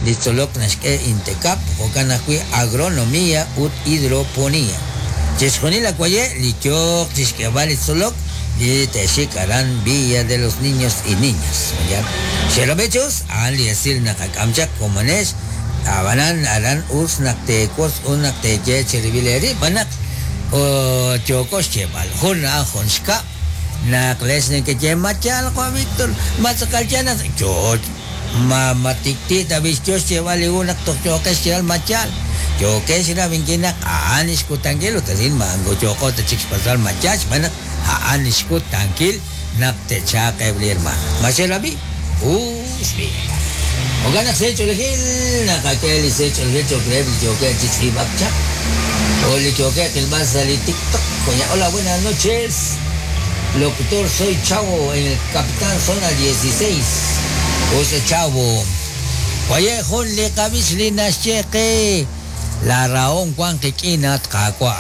Li tzolok naxk'e Intecap, jo'kan ajwi' Agronomía ut Hidroponía. Chixjunil a waye' li yooq chixk'eeb'al li tzolok li te'xik aran Villa de los Niños y Niñas. Xerab'i chi us, a'an li esil naqak'am chaq komonex, ab'anan aran us naq teewotz ut naq teeye cherib'il eerib' b'an naq yooko xyeeb'al. Jun a'an jun xkab', naq lex nekeye ma yaal Juan Víctor, ma tz'aqal yaal naq yoo Ma ma tik'ti' tab'i' xyo xyeeb'al li hu naq toj yooqex xyeeb'al ma yaal? Yookex rab'inkil naq a'an li xkutankil ut arin ma moko yooqo ta chik xpatz'b'al ma yaal xb'aan naq a'an li xkutankil naq te'chalq eb' li hermaan. Ma xe'rab'i? Us b'i'. Jo'kan naq sa' ch'oolejil naqak'e li sa' ch'oolejil cho'q reheb' li yookeb' chi tz'iib'ak chaq o li yookeb' qilb'al sa' li TikTok. Hola, buenas noches. Locutor, soy Chavo en el Capitán Zona 16. Us Chavo. Waye' jun li qab'ich li naxye qe la rahom wank qik'in at Qaawa'.